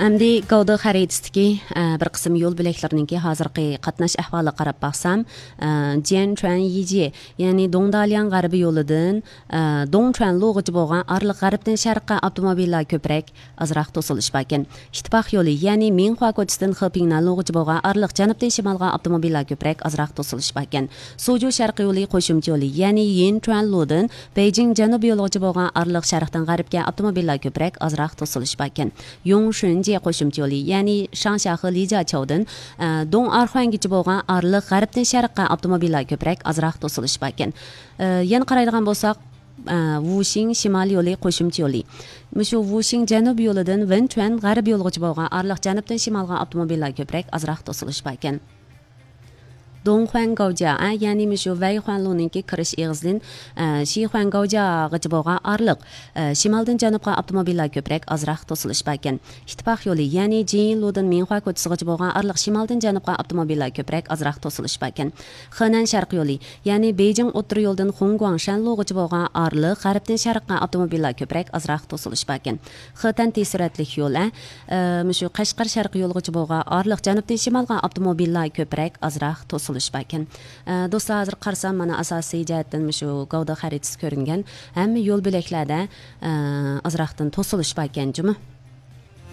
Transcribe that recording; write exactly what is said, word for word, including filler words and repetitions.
ئەمدى گاۋدې خەرىتىسىدىكى، ئە، بىر قىسىم يول بۆلەكلىرىنىڭكى ھازىرقى قاتناش ئەھۋالىغا قاراپ باقسام، ئە، جيەنچۈەن يىجى، يەنى دوڭدالياڭ غەربىي يولىدىن، ئە، دوڭچۈەنلۇغىچە بولغان ئارىلىق غەربتىن شەرققە ئاپتوموبىللار كۆپرەك، ئازراق توسۇلۇش باركەن. ئىتتىپاق يولى، يەنى مىڭخۇا كوچىسىدىن خېپىڭنەنلۇغىچە بولغان ئارىلىق جەنۇبتىن شىمالغا ئاپتوموبىللار كۆپرەك، ئازراق توسۇلۇش باركەن. سوجۇ شەرقىي يولى قوشۇمچە يولى، يەنى يىنچۈەنلۇدىن بېيجىڭ جەنۇبىي يولىغىچە بولغان ئارىلىق شەرقتىن غەربكە ئاپتوموبىللار كۆپرەك، ئازراق توسۇلۇش باركەن. يوڭشۈنجې قوشۇمچە يولى، يەنى شاڭشياخې لىجياچاۋدىن، ئە، دوڭئارخۇەنگىچە بولغان ئارىلىق غەربتىن شەرققە ئاپتوموبىللار كۆپرەك، ئازراق توسۇلۇش باركەن. ئە، يەنە قارايدىغان بولساق، ئە، ۋۇشىڭ شىمال يولى قوشۇمچە يولى. مۇشۇ ۋۇشىڭ جەنۇب يولىدىن ۋېنچۈەن غەرب يولىغىچە بولغان ئارىلىق جەنۇبتىن شىمالغا ئاپتوموبىللار كۆپرەك، ئازراق توسۇلۇش باركەن. دوڭخۇەن گاۋجيا، ئە، يەنى مۇشۇ ۋەيخۇەنلۇنىڭكى كىرىش ئېغىزىدىن، ئە، شىخۇەن گاۋجياغىچە بولغان ئارىلىق، ئە، شىمالدىن جەنۇبقا ئاپتوموبىللار كۆپرەك، ئازراق توسۇلۇش باركەن. ئىتتىپاق يولى، يەنى جىنلۇدىن مىڭخۇا كوچىسىغىچە بولغان ئارىلىق شىمالدىن جەنۇبقا ئاپتوموبىللار كۆپرەك، ئازراق توسۇلۇش باركەن. خېنەن شەرقىي يولى، يەنى بېيجىڭ ئوتتۇرا يولىدىن خۇڭگۇاڭ شەنلۇغىچە بولغان ئارىلىق غەربتىن شەرققە ئاپتوموبىللار كۆپرەك، ئازراق توسۇلۇش باركەن. خېتەن تېز سۈرئەتلىك يول، ئە، ئە، مۇشۇ قەشقەر شەرقىي يولىغىچە بولغان ئارىلىق جەنۇبتىن شىمالغا ئاپتوموبىللار كۆپرەك، ئازراق توسۇلۇش باركەن. ئە، دوستلار، ھازىر قارىسام، مانا ئاساسىي جەھەتتىن مۇشۇ گاۋدې خەرىتىسى كۆرۈنگەن ھەممە يول بۆلەكلەردە، ئە، ئازراقتىن توسۇلۇش باركەن جۇمۇ.